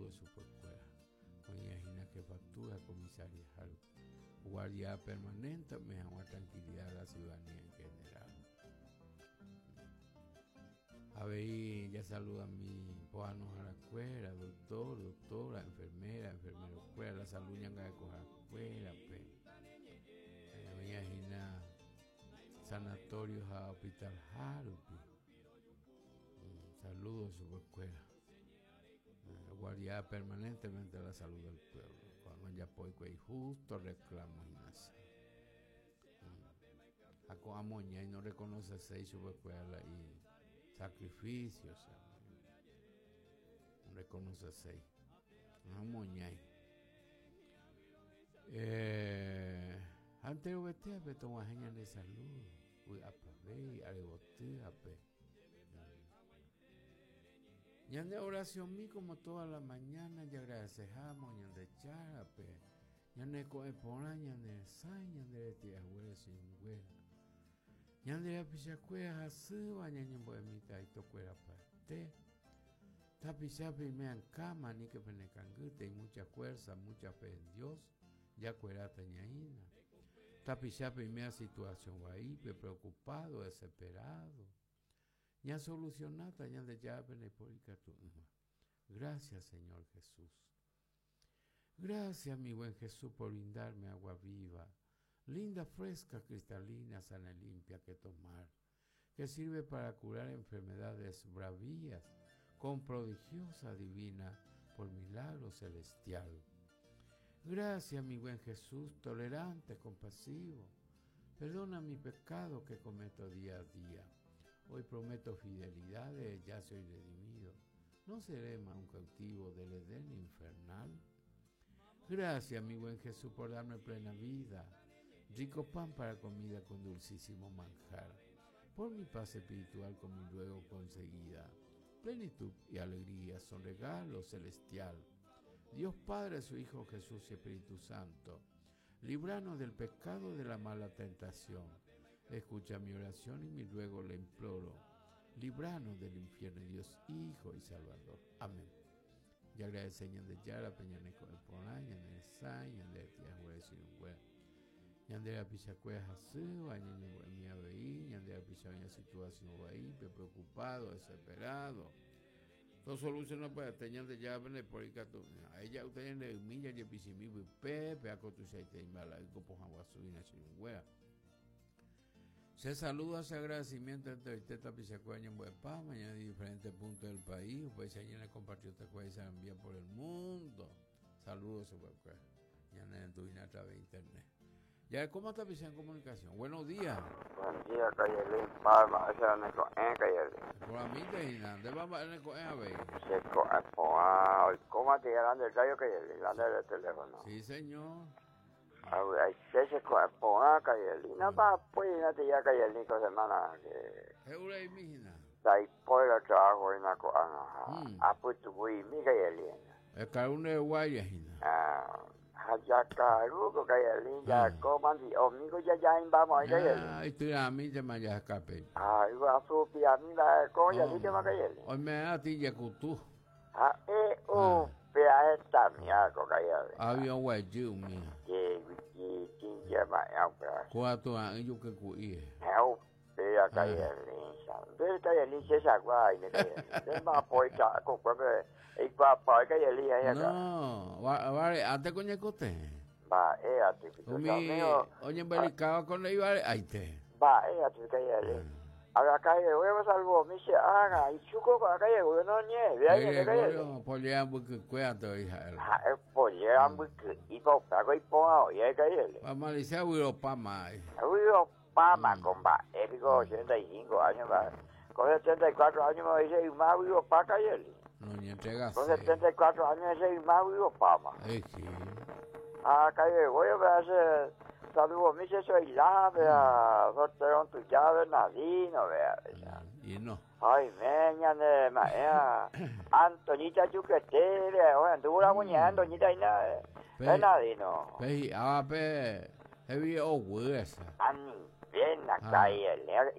Saludos chupekuéra. Oĩva hína jefatura comisaría rupi. Guardia permanente ome'ẽ hag̃ua tranquilidad a la ciudadanía en general. Avei jasaludami pohãnoharakuéra, doctor, doctora, enfermera, enfermero-kuéra, la salud ñangarekoharakuérape. Oĩva hína sanatorio ha hospital-ha rupi. Saludos chupekuéra. Guardia permanentemente la salud del pueblo. Ko'ág̃a ojapo hikuái justo reclamo hína che. Ha ko'ã moñái no reconoceséi chupekuéra la isacrificio che. No reconoceséi. Ha moñái. Eh, ha enterovetéape tog̃uahẽ ñande salud, vy'apavei, arevotýape. Ñande oracionmi como toda la mañana jagradecehámo Ñandejárape, ñane ko'ẽ porã, ñane resãi, ñande reti'aguére cheinguéra. Ñande rapichakuéra hasýva ñañembo'emíta aitokuerapaite. Tapicha peime ankama, aníke pene kangy, teĩ mucha fuerza, mucha fe en Dios, jakueráta ñaína. Tapicha peimea situación vaípe, preocupado, desesperado. Ñasolucionáta Ñandejára pene po ikatu'ỹva. Gracias Señor Jesús. Gracias mi buen Jesús por brindarme agua viva, linda, fresca, cristalina, sana y limpia que tomar, que sirve para curar enfermedades bravías con prodigiosa divina por milagro celestial. Gracias mi buen Jesús, tolerante, compasivo. Perdona mi pecado que cometo día a día. Hoy prometo fidelidad, ya soy redimido. No seré más un cautivo del Edén infernal. Gracias, mi buen Jesús, por darme plena vida, rico pan para comida con dulcísimo manjar, por mi paz espiritual con mi luego conseguida. Plenitud y alegría son regalo celestial. Dios Padre, su Hijo Jesús y Espíritu Santo, líbranos del pecado de la mala tentación. Escucha mi oración y mi ruego le imploro. Líbranos del infierno, Dios Hijo y Salvador. Amén. Y agradece Ñandejára pe ñane ko'ẽ porã, ñane resãi, ñande retĩ ajuere chirũnguéra. Ñande rapichakuéra hasýva, ñañembo'emi avei, ñande rapicha oĩva situación vaípe, preocupado, desesperado. Tosoluciona pya'ete Ñandejára pende póri katu. Ha'e ja'úta ñande ymi jajepichimi pype, péa ko tuichaite imba'la'y ko pohã guasu hína chirũnguéra. Che saludo ha che agradecimiento enteroite tapichakuéra ñembo'epáma ñane diferente punto del país, upéicha ñane compatriota-kuéra isarambía por el mundo. Saludo chupekuéra. Ñane rendu hína a través de internet. Jarekóma tapicha en comunicación. Buenos días. Buen día, Kayelin Palma, ese era neko'ẽ, Kayelin. Eporãmínte hína, ndépa mba'e neko'ẽ avei? Che ko'ẽ porã, oikóma tei la nde radio, Kayelin, la nde teléfono. Sí, señor. Avy'aite che ko'ẽ porã, Kayelin. No mba'apói hína tei Kayelin ko semana que. He'ureimi hína. Ndaipói la trabajo hína ko'ág̃a ha apytu'uimi, Kayelin. Ekaru nde guáire hína. Ah. Ha jakaru ko kayeli jako mandi'o mi ko jajaimba moĩ kayeli. Ah, ityrãmíntema jaheka pe. Ha yguasu piami mba'e ko jalítema kayeli. Oime'ẽ atĩ jekutu. Ha'e upéa hetamia ko kayeli. Aviõ guejy umía. Che tĩnje mba'e upéva. Kóva tura'ỹ juky ku'íre. Ha'e upéa kayeli. Nde kayeli che chagua aime kayeli. Nde mba'apo ita kokuépe eikuaapa kayeli aĩ aka. No, vare'ánte ko ñekotevẽ. Mba'e aty piko Umi amigo. oñembelikáva ko ndéi vare'aite. Mba'e aty kayeli. Araka'eve salvo mi che ágã ichuko ko aka'eve no ñe'ẽve añete kayeli. Gregorio polléra mbykykue ante oĩ ha'e. Ha'e polléra mbyky'i pa upéva ko iporã oĩ ae kayeli. Pa malicia vyropáma. Vyropáma. Páma ko mba'e piko 85 año mba'e. Ko 74 año me dice yma vyropa kayeli. Noñentregase. Ko 74 año ese yma vyropáma. Ay, sí. Ah, calle voy a ver saludo mi se soy la vea sorteo tuya Bernardino vea. Y no. Ay, me ñane maea Antoñita Yuquete vea, o anduvo la muñeca Antoñita y nada. Bernardino. Pe hi'áva pe hevi oguy esa. Anivéna ka'i Elena,